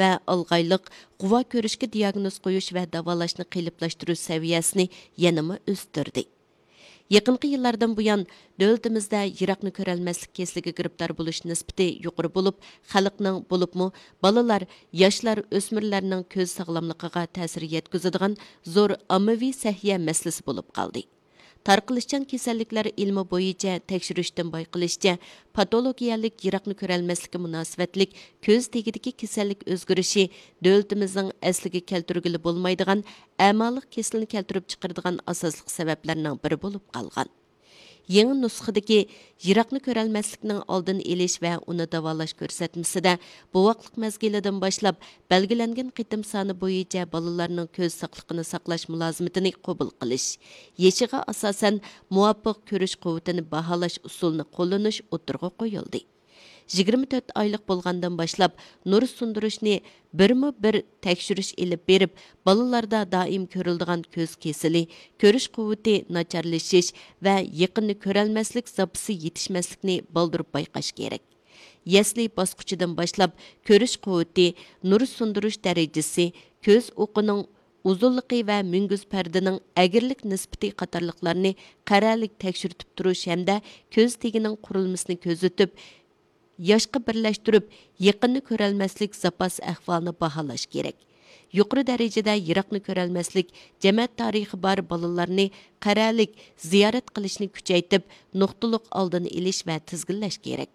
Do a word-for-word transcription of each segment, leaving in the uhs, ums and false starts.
ۋە ئالغايلىق غۇۋا كۆرۈشكە دىياگنوز قويۇش ۋە داۋالاشنى قېلىپلاشتۇرۇش سەۋىيەسىنى يەنىمۇ ئۆستۈردى. يېقىنقى يىللاردىن بۇيان، دۆلىتىمىزدە يىراقنى كۆرەلمەسلىك كېسىلىگە گىرىپتار بولۇش نىسبىتى يۇقىرى بولۇپ، خەلقنىڭ، بولۇپمۇ بالىلار، ياشلار، ئۆسمۈرلەرنىڭ كۆز ساغلاملىقىغا تەسىر يەتكۈزىدىغان زور ئاممىۋى سەھىيە مەسىلىسى بولۇپ قالدى. تارقىلىشچان كېسەللىكلەر ئىلمى بويىچە تەكشۈرۈشتىن بايقىلىشىچە، پاتولوگىيەلىك يىراقنى كۆرەلمەسلىككە مۇناسىۋەتلىك كۆز تېگىدىكى كېسەللىك ئۆزگىرىشى دۆلىتىمىزنىڭ ئەسلىگە كەلتۈرگىلى بولمايدىغان ئەمالىق كېسىلىنى كەلتۈرۈپ چىقىرىدىغان ئاساسلىق سەۋەبلەرنىڭ بىرى بولۇپ قالغان. يېڭى نۇسخىدىكى يىراقنى كۆرەلمەسلىكنىڭ ئالدىنى ئېلىش ۋە ئۇنى داۋالاش كۆرسەتمىسىدە، بوۋاقلىق مەزگىلىدىن باشلاپ بەلگىلەنگەن قېتىم سانى بويىچە بالىلارنىڭ كۆز ساقلىقىنى ساقلاش مۇلازىمىتىنى قوبۇل قىلىش، يېشىغا ئاساسەن مۇۋاپىق كۆرۈش قۇۋۋىتىنى باھالاش ئۇسۇلىنى قوللىنىش ئوتتۇرىغا قويۇلدى. يىگىرمە تۆت ئايلىق بولغاندىن باشلاپ نۇر سۇندۇرۇشنى بىرمۇ بىر تەكشۈرۈش ئېلىپ بېرىپ، بالىلاردا دائىم كۆرۈلىدىغان كۆز كېسىلى، كۆرۈش قۇۋۋىتى ناچارلىشىش ۋە يېقىننى كۆرەلمەسلىك زاپىسى يېتىشمەسلىكنى بالدۇر بايقاش كېرەك. يەسلى باسقۇچىدىن باشلاپ كۆرۈش قۇۋۋىتى، نۇر سۇندۇرۇش دەرىجىسى، كۆز ئوقىنىڭ ئۇزۇنلۇقى ۋە مۈڭگۈز پەردىنىڭ ئەگرىلىك نىسبىتى قاتارلىقلارنى قەرەلىك تەكشۈرتۈپ تۇرۇش ھەمدە كۆز تېگىنىڭ قۇرۇلمىسىنى كۆزىتىپ، ياشقا بىرلەشتۈرۈپ، يېقىننى كۆرەلمەسلىك زاپاس ئەھۋالىنى باھالاش كېرەك. يۇقىرى دەرىجىدە يىراقنى كۆرەلمەسلىك جەمەت تارىخى بار بالىلارنى قەرەلىك زىيارەت قىلىشنى كۈچەيتىپ، نۇقتىلىق ئالدىنى ئېلىش ۋە تىزگىنلەش كېرەك.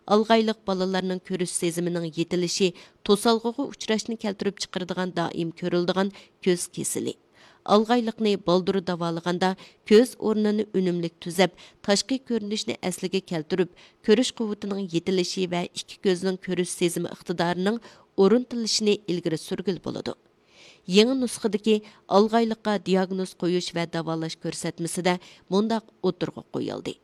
ئالغايلىق بالىلارنىڭ كۆرۈش سېزىمىنىڭ يېتىلىشى، توسالغۇغا ئۇچراشنى كەلتۈرۈپ چىقىرىدىغان دائىم كۆرۈلىدىغان كۆز كېسىلى. ئالغايلىقنى بالدۇر داۋالىغاندا، كۆز ئورنىنى ئۈنۈملۈك تۈزەپ، تاشقى كۆرۈنۈشنى ئەسلىگە كەلتۈرۈپ، كۆرۈش قۇۋۋىتىنىڭ يېتىلىشى ۋە ئىككى كۆزنىڭ كۆرۈش سېزىمى ئىقتىدارىنىڭ ئورنىتىلىشىنى ئىلگىرى سۈرگىلى بولىدۇ. يېڭى نۇسخىدىكى ئالغايلىققا دىياگنوز قويۇش ۋە داۋالاش كۆرسەتمىسىدە مۇنداق ئوتتۇرىغا قويۇلدى.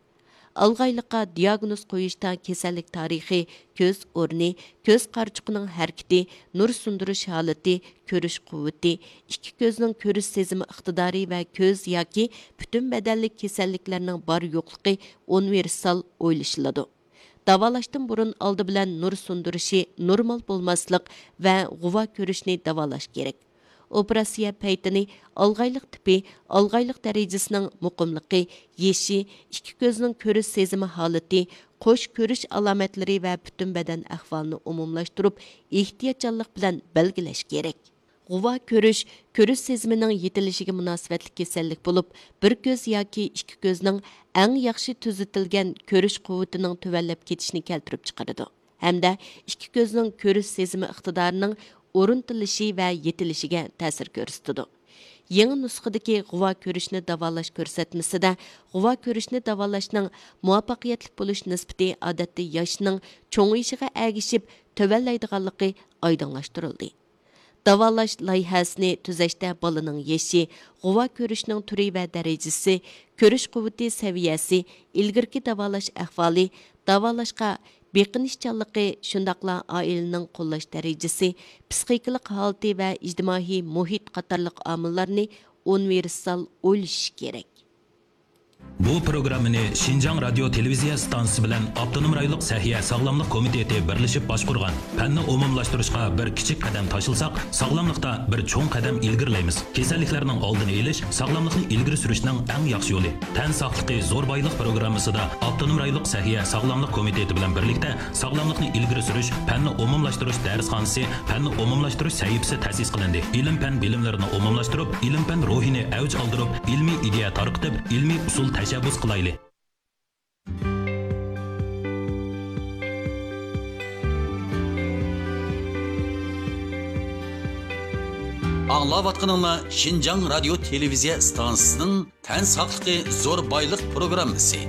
ئالغايلىققا دىياگنوز قويۇشتا كېسەللىك تارىخى، كۆز ئورنى، كۆز قارىچۇقىنىڭ ھەرىكىتى، نۇر سۇندۇرۇش ھالىتى، كۆرۈش قۇۋۋىتى، ئىككى كۆزنىڭ كۆرۈش سېزىمى ئىقتىدارى ۋە كۆز ياكى پۈتۈن بەدەنلىك كېسەللىكلەرنىڭ بار يوقلۇقى ئۇنىۋېرسال ئويلىشىلىدۇ. داۋالاشتىن بۇرۇن ئالدى بىلەن نۇر سۇندۇرۇشى نورمال بولماسلىق ۋە غۇۋا كۆرۈشنى داۋالاش كېرەك. ئوپېراتسىيە پەيتىنى، ئالغايلىق تىپى، ئالغايلىق دەرىجىسىنىڭ مۇقىملىقى، يېشى، ئىككى كۆزنىڭ كۆرۈش سېزىمى ھالىتى، قوش كۆرۈش ئالامەتلىرى ۋە پۈتۈن بەدەن ئەھۋالىنى ئومۇملاشتۇرۇپ، ئېھتىياتچانلىق بىلەن بەلگىلەش كېرەك. غۇۋا كۆرۈش، كۆرۈش سېزىمىنىڭ يېتىلىشىگە مۇناسىۋەتلىك كېسەللىك بولۇپ، بىر كۆز ياكى ئىككى كۆزنىڭ ئەڭ ياخشى تۈزىتىلگەن كۆرۈش قۇۋۋىتىنىڭ تۆۋەنلەپ كېتىشىنى كەلتۈرۈپ چىقىرىدۇ ھەمدە ئىككى كۆزنىڭ كۆرۈش سېزىمى ئىقتىدارىنىڭ ئورنىتىلىشى ۋە يېتىلىشىگە تەسىر كۆرسىتىدۇ. يېڭى نۇسخىدىكى غۇۋا كۆرۈشنى داۋالاش كۆرسەتمىسىدە غۇۋا كۆرۈشنى داۋالاشنىڭ مۇۋەپپەقىيەتلىك بولۇش نىسبىتى ئادەتتە ياشنىڭ چوڭىيىشىغا ئەگىشىپ تۆۋەنلەيدىغانلىقى ئايدىڭلاشتۇرۇلدى. داۋالاش لايىھەسىنى تۈزەشتە بالىنىڭ يېشى، غۇۋا كۆرۈشنىڭ تۈرى ۋە دەرىجىسى، كۆرۈش قۇۋۋىتى سەۋىيەسى، ئىلگىرىكى داۋالاش ئەھۋالى، داۋالاشقا بېقىنىشچانلىقى، شۇنداقلا ئائىلىنىڭ قوللاش دەرىجىسى، پىسخىكىلىق ھالىتى ۋە ئىجتىمائىي مۇھىت قاتارلىق ئامىللارنى ئۇنىۋېرسال ئويلىشىش كېرەك. بۇ پروگراممىنى شىنجاڭ رادىيو تېلېۋىزىيە ئىستانسىسى بىلەن ئاپتونوم رايونلۇق سەھىيە ساغلاملىق كومىتېتى بىرلىشىپ باشقۇرغان. پەننى ئومۇملاشتۇرۇشقا بىر كىچىك قەدەم تاشلىساق، ساغلاملىقتا بىر چوڭ قەدەم ئىلگىرىلەيمىز. كېسەللىكلەرنىڭ ئالدىنى ئېلىش، ساغلاملىقنى ئىلگىرى سۈرۈشنىڭ ئەڭ ياخشى يولى. تەن ساقلىقى زور بايلىق پروگراممىسىدا ئاپتونوم رايونلۇق سەھىيە ساغلاملىق كومىتېتى بىلەن بىرلىكتە ساغلاملىقنى ئىلگىرى سۈرۈش، پەننى ئومۇملاشتۇرۇش دەرسخانىسى، پەننى ئومۇملاشتۇرۇش سەھىپىسى تەسىس قىلىندى. ئىلىم-پەن بىلىملىرىنى ئومۇملاشتۇرۇپ، ئىلىم-پەن روھىنى ئەۋج ئالدۇرۇپ، ئىلمىي ئىدىيە تارقىتىپ، ئىلمىي ئۇسۇل تەشەببۇس قىلايلى. ئاڭلاۋاتقىنىڭلار شىنجاڭ رادىيو تېلېۋىزىيە ئىستانسىسىنىڭ تەن ساقلىقى زور بايلىق پروگراممىسى.